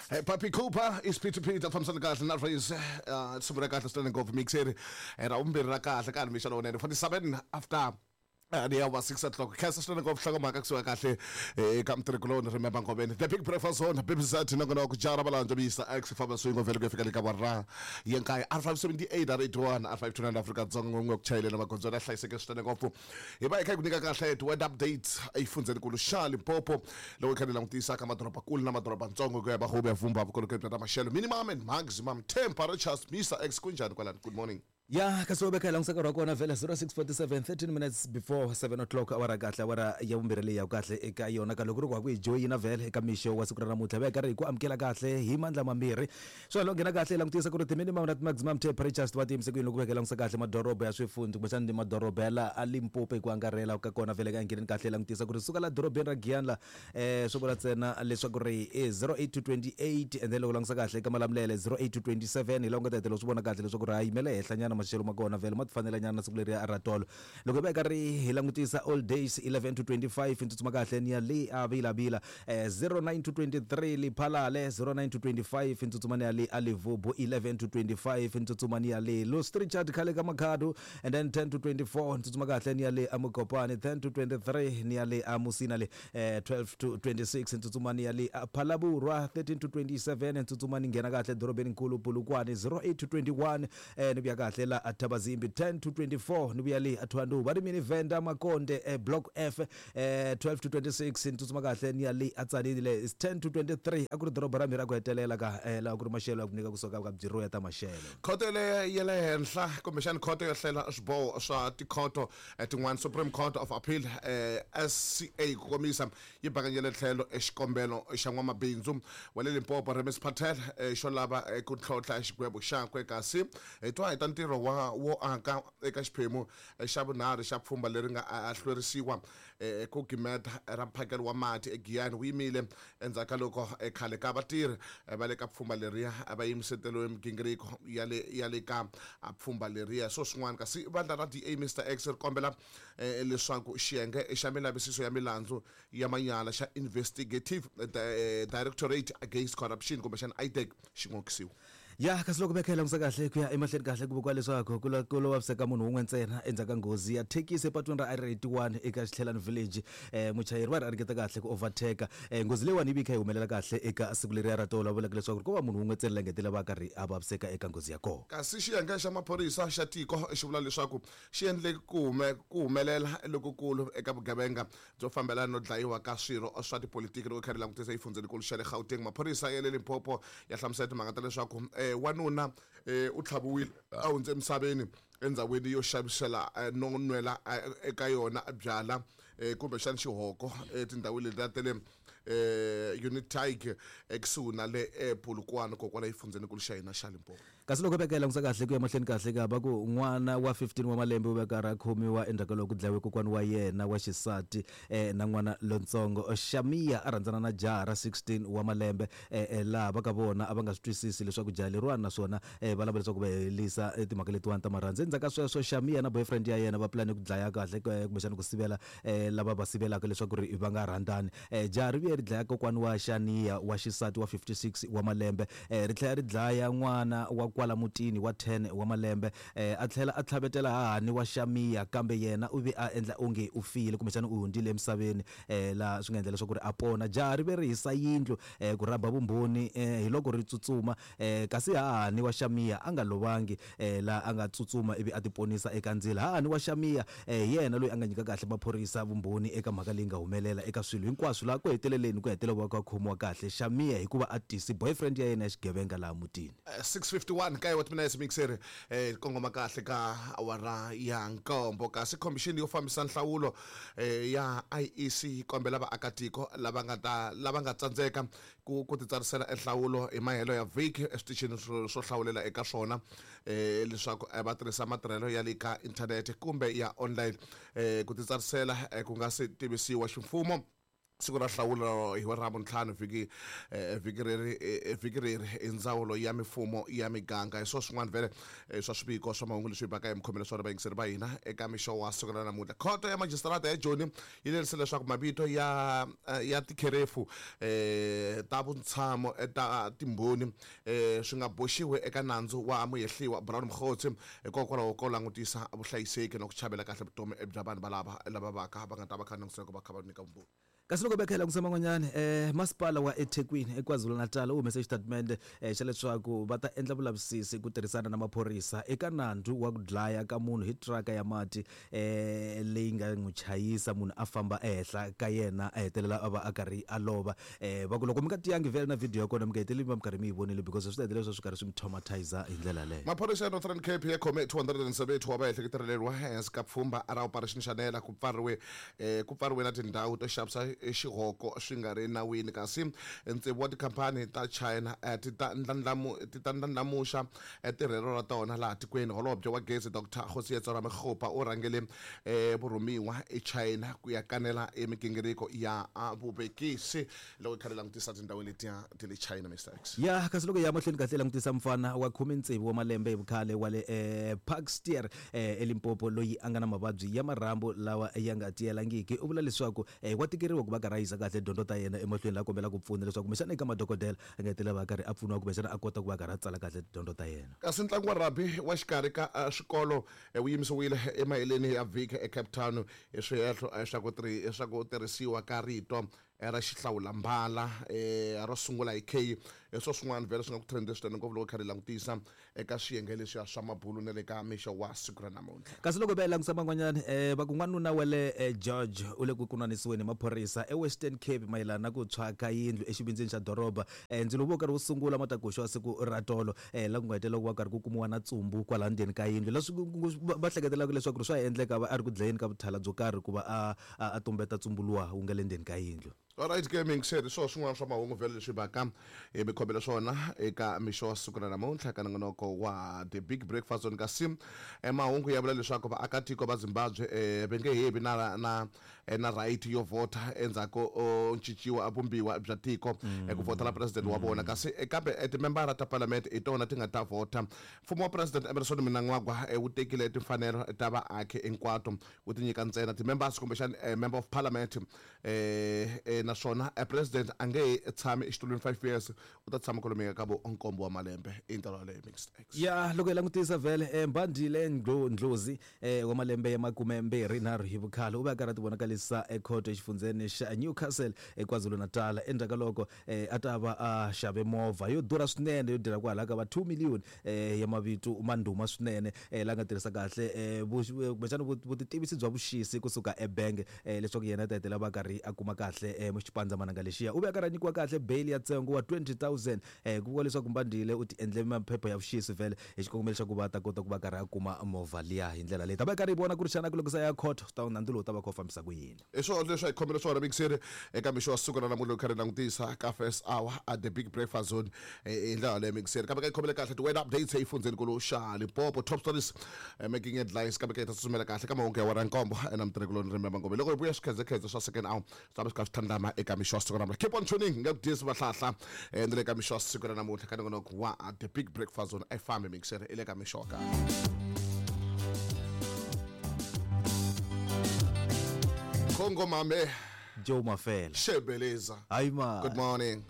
Hey, Papi Cooper is P2P ta fambisana kahle na Raise sungula kahle swinene ngopfu mixeri ra vumbirhi ra kahle ka mixo lowunene 47 after ni ya va 6 o'clock. Khensa swinene ngopfu nhlokomhaka kusuka kahle eka mutirhikuloni Remember Ngobeni, The Big Breakfast Zone, BBZ nongonoko ku jara valandzo Mr X famba swin'we vhele ku ya fika le ka warra ya nkaye R578 R81 R529 Afrika Dzonga n'we ku chayeleni magondzo ya hlayiseke swinene ngopfu. Hi va hi kha hi ku nyika kahle ti-word updates exifundzhenikulu xa Limpopo loko hi kha hi langutisa ka madorobankulu na madorobantsongo ku ya va home ya vumba vukorhokeri bya ta maxelo, minimum and maximum temperatures. Mr X, kunjhani kwalani? Good morning. Ya, kasi wo veka hi langutisa nkarhi wa kona vhele 06:47, 13 minutes before 7 o'clock, awara kahle, awara ya vumbirhi leyi ya kahle eka yona ka loko ri ku ha ku hi joyina vhele eka mixo wa siku ra namuntlha, va hi karhi hi ku amukela kahle hi mandla mambirhi. Swa lo nghena kahle hi langutisa ku ri ti-minimum na ti-maximum temperatures ti va ti yimise ku yini loko veka hi langutisa kahle madoroba ya swifundzi kumbexana ni madoroba ya laha a Limpopo hi ku angarhela ka kona. Vhele ka ngheneni kahle hi langutisa ku ri suka la dorobeni ra Giyani la swo vula ntsena leswaku ri i 08 to 28, and then loko langutisa kahle eka Malamulele 08 to 27, hi laha u nga ta hetelela swi vona kahle leswaku ri ha yimele henhla nyana maxelo ma kona vhele ma ti fanela nyana na siku leriya ra tolo. Loko hi va hi karhi hi langutisa all days 11 to 25, ni tsutsuma kahle ni ya le a Vilavila 09 to 23, Liphalale 09 to 25, ni tsutsuma ni ya le a Livubu 11 to 25, ni tsutsuma ni ya le Lostrichard khale ka Makhado, and then 10 to 24 ni tsutsuma kahle ni ya le a Mokopane, 10 to 23 ni ya le a Musina le 12 to 26 ni tsutsuma ni ya le a Phalaborwa, 13 to 27 ni tsutsuma ni nghena kahle dorobeni nkulu Polokwane, 08 to 21 ni vuya kahle la a Thabazimbi, 10 to 24 ni vuya le a Thohoyandou va ri mini Venda Makonde block F, 12 to 26 ni tsutsuma kahle ni ya le a Tzaneen le is 10 to 23. A ku ri doroba ra mhiri ra ku hetelela ka laha ku ri maxelo ya ku nyika kusuka ka bureau ya ta maxelo. Khoto le ya le henhla kumbexani khoto yo hlela swiboho swa tikhoto tin'wana, Supreme Court of Appeal, SCA ku komisa, yi bakanyele tlhelo xikombelo xa n'wamabindzu wa le Limpopo Remis Patel xo lava ku tlhontlha xigwevo xakwe. Kasi hi twa hi ta ntirho wa wo aka eka xiphemu xa vunharhu xa pfhumba leri nga hlwerisiwa ku gimeta ra mphakelo wa mati eGiyani wu yimile endzhaku ka loko khale ka vatirhi va le ka pfhumba leriya va yimiseteriwe migingiriko ya le ya le ka pfhumba leriya. So swin'wana kasi vandla ra DA Mister X ri kombela leswaku xiyenge xa milavisiso ya milandzu ya manyala xa Investigative Directorate Against Corruption kumbexana IDAC xi n'okisiwa. Ya, kasi loko veka hi langutisa kahle ku ya emahlweni kahle ku vuriwa leswaku ku ku lo vaviseka munhu wun'we ntsena endzhaku ka nghozi ya thekisi epatwini ra R81 eka Xitlhelani Village. Muchayeri va ri a ringeta kahle ku overtake. Nghozi leyiwani yi vi yi kha yi humelela kahle eka siku leriya ra tolo, va vulaka leswaku ko va munhu wun'we ntsena la nga hetelela va karhi a vaviseka eka nghozi ya kona. Kasi xiyenge xa maphorisa xa tiko xi vula leswaku xi endle ku ku humelela lokukulu eka vugevenga byo fambelana no dlayiwa ka swirho swa tipolitiki loko kha ri langutisa exifundzhenikulu xa le Gauteng. Maphorisa ya le Limpopo ya hlamusela timhaka ta leswaku wanuna u tlhaviwile a hundze emisaveni endzhawini yo xavisela no nwela eka yona byala kumbexana xihoko etindhawini letiya ta le Unitaig ekusuhi na le Polokwane kokwala exifundzhenikulu xa hina xa Limpopo. Kasi loko veka hi langutisa kahle ku ya mahlweni kahle ka va ku n'wana wa 15 wa malembe u ve karhi a khomiwa endzhaku ka loko ku dlayiwe kokwana wa yena wa xisati na n'wana lontsongo. Shamia a rhandzana na jaha ra 16 wa malembe laha va ka vona a va nga swi twisisi leswaku jaha leriwani naswona va lava leswaku va herisa timhaka letiwani ta marhandzu. Endzhaku ka sweswo Shamia na boyfriend ya yena va pulane ku dlaya kahle kumbexana ku sivela lava va sivelaka leswaku ri va nga rhandzani. Jaha ri vuye ri dlaya kokwani wa Shania wa xisati wa 56 wa malembe, ri tlhela ri dlaya n'wana wa kwala mutini wa 10 wa malembe, a tlhela a tlhavetela hahani wa Shamiya, kambe yena u ve a endla onge u file kumbexana u hundzile emisaveni, laha swi nga endla leswaku ri a pona. Jaha ri ve ri hisa yindlu ku rhaba vumbhoni, hiloko ri tsutsuma, kasi hahani wa Shamiya a nga lovangi, laha a nga tsutsuma ivi a tiponisa eka ndzilo. Hahani wa Shamiya hi yena loyi a nga nyika kahle maphorisa vumbhoni eka mhaka leyi nga humelela eka swilo hinkwaswo, laha ku heteleleni ku hetelela ku khomiwa kahle Shamiya hikuva a tisi boyfriend ya yena ya xigevenga laha mutini. 6:51 kaye wa timinetse mixeri kongoma kahle ka awara ya nkombo. Kasi khomixini yo fambisa nhlawulo ya IEC yi kombela vaakatiko lava nga ta lava nga tsandzeka ku ku titsarisela enhlawulo hi mahelo ya vhiki eswitichini swo hlawulela eka swona leswaku va tirhisa matirhelo ya le ka inthanete kumbe ya online ku titsarisela ku nga se tivisiwa ximfumo. Siku ra nhlawulo hi wa Ravuntlhanu vhiki vhiki reri vhiki reri i ndzawulo ya mifumo ya miganga. Hi swo swin'wana vhele swa swiviko swa mahungu leswi hi baka hi mikhomelo swona vayingiseri va hina eka mixo wa siku ra namuntlha. Khoto ya majisitarata ya Joni yi lerise leswaku mavito ya ya tikherefu ta vutshamo ta timbhoni swi nga boxiwi eka nandzu wa muhehliwa Brown Mogotsi hikokwalaho ko langutisa vuhlayiseki na ku chavela kahle vutomi bya vanhu valava lava vaka va nga ta va kha langutisela ku va kha va nyika vumbhoni. Kasi loko va kha hi langutisa man'wanyana masipala wa eThekwini eKwaZulu-Natal wu humese xitatimende xa leswaku va ta endla vulavisisi ku tirhisana na maphorisa eka nandzu wa ku dlaya ka munhu hi traka ya mati leyi nga n'wi chayisa munhu a famba ehenhla ka yena a hetelela a va a karhi a lova. Va ku loko mi nga tiyangi vhele na video ya kona mi nga heteleli mi va mi karhi mi yi vonile because swi ta hetelela swi karhi swi mi traumatizer hi ndlela yaleyo. Maphorisa ya Northern Cape ya khome 270 wa vaehleketeleriwa ehansi ka pfhumba ra Operation Shanela ku pfariwe Ku pfariwe na tindhawu to xavisa xihoko swi nga ri nawini, kasi tsevu wa tikhampani ta China ti ta ti ta ndlandlamuxa tirhelo ra tona laha tikweni. Holobye wa Gezi Doctor Kgosietso Ramokgopa u rhangele vurhumiwa eChina ku ya kanela migingiriko ya vuvekisi loko hi kha hi langutisa tindhawu letiya ta le China. Mister X. Ya, kasi loko hi ya mahlweni kahle hi langutisa mufana wa khume-tsevu wa malembe hi vukhale wa le Parksteer eLimpopo loyi a nga na mavabyi ya marhambu lawa ya nga tiyelangiki u vula leswaku wa tikeriwa ku va karhi a yisa kahle dyondzo ta yena emahlweni laha a kombelaka ku pfuna leswaku kumbexana eka madokodela a nga hetelela va karhi a pfuniwa kumbexana a kota ku va karhi a tsala kahle tidyondzo ta yena. Kasi ntlangu wa rugby wa xikarhi ka swikolo wu yimisiwile emaheleni ya vhiki eCape Town hi swihehlo swa ku tirhisiwa ka rito ra xihlawulambala ro sungula hi K. Hi swo swin'wana vhele swi nga ku trend swinene ngopfu loko hi karhi hi langutisa eka swiyenge leswiya swa mabulu na le ka mixo wa siku ra namuntlha. Kasi loko hi va hi langutisa van'wanyana va ku n'wanuna wa le George u le ku kunanisiweni hi maphorisa eWestern Cape mayelana na ku tshwa ka yindlu exivindzini xa doroba. Ndzilo wu ve wu karhi wu sungula matakuxa wa siku ra tolo laha ku nga hetelela ku va karhi ku kumiwa na tsumbu kwala ndzeni ka yindlu leswi va hleketelaka leswaku ri swa ha endleka va a ri ku dlayeni ka vuthala byo karhi ku va a a a tumbeta tsumbu luwa wu nga le ndzeni ka yindlu. Alright ke miyingiseri, swo swin'wana swa mahungu vhele leswi baka hi mi khomele swona eka mixo wa siku ra namuntlha ka nongonoko wa The Big Breakfast on kasi mahungu ya vula leswaku vaakatiko va Zimbabwe va nge he vi na na na right yo vhota endzhaku ko cinciwa vumbiwa bya tiko ku vhotela president wa vona kasi kambe timembara ta parliament hi tona ti nga ta vhota. Mfumo wa President Emmerson Mnangagwa wu tekile timfanelo ta vaaki hinkwato wu ti nyika ntsena ti-members kumbexana member of parliament naswona president a nge he tshami exitulwini 5 years u ta tshama kwalomuya ka vo nkombo wa malembe i ndlela yaleyo mixed X. Ya loko hi langutisa vhele Mbandile Ndlozi wa malembe ya makumembirhi-nharhu hi vukhale u ve a karhi a tivonakalisa ekhoto exifundzheni xa Newcastle eKwaZulu-Natal endzhaku ka loko a ta va a xave movha yo durha swinene yo durha kwalaho ka va 2 million ya mavito ma ndhuma swinene la nga tirhisa kahle kumbexana vutitivisi bya vuxisi kusuka ebank leswaku yena a ta hetelela va karhi a kuma kahle xipandzamananga lexiya. U ve a karhi a nyikiwa kahle bail ya ntsengo wa 20,000 ku vuriwa leswaku Mbandile u ti endle maphepha ya vuxisi vhele hi xikongomelo xa ku va a ta kota ku va karhi a kuma movha liya hi ndlela leyi. Ta va hi karhi hi vona ku ri xana ku loko se a ya court swi ta nandzu lowu wu ta va kha wu fambisa ku yini. Hi swona leswi a hi khomele swona mixeri eka mixo wa siku ra namuntlha loko kha ri langutisa ka first hour at the big breakfast zone hi ndlela yaleyo mixeri kambe ka yi khomele kahle ti-weather updates exifundzhenikulu xa Limpopo top stories making headlines kambe ka yi ta tsutsumela kahle ka mahungu ya wara nkombo na mutirhikuloni Rimba Mangome loko hi vuya swikhedzekhedze swa second hour swi ta va swi kha swi tlhandlama eka mixo wa siku ra namuntlha keep on tuning nga ku dyisi vahlahla na le ka mixo wa siku ra namuntlha ka nongonoko wa the big breakfast zone a yi fambi mixeri i le ka mixo wa kahle. Congo Mame Joe Mafela Shebeleza. Hayi ma. Good morning.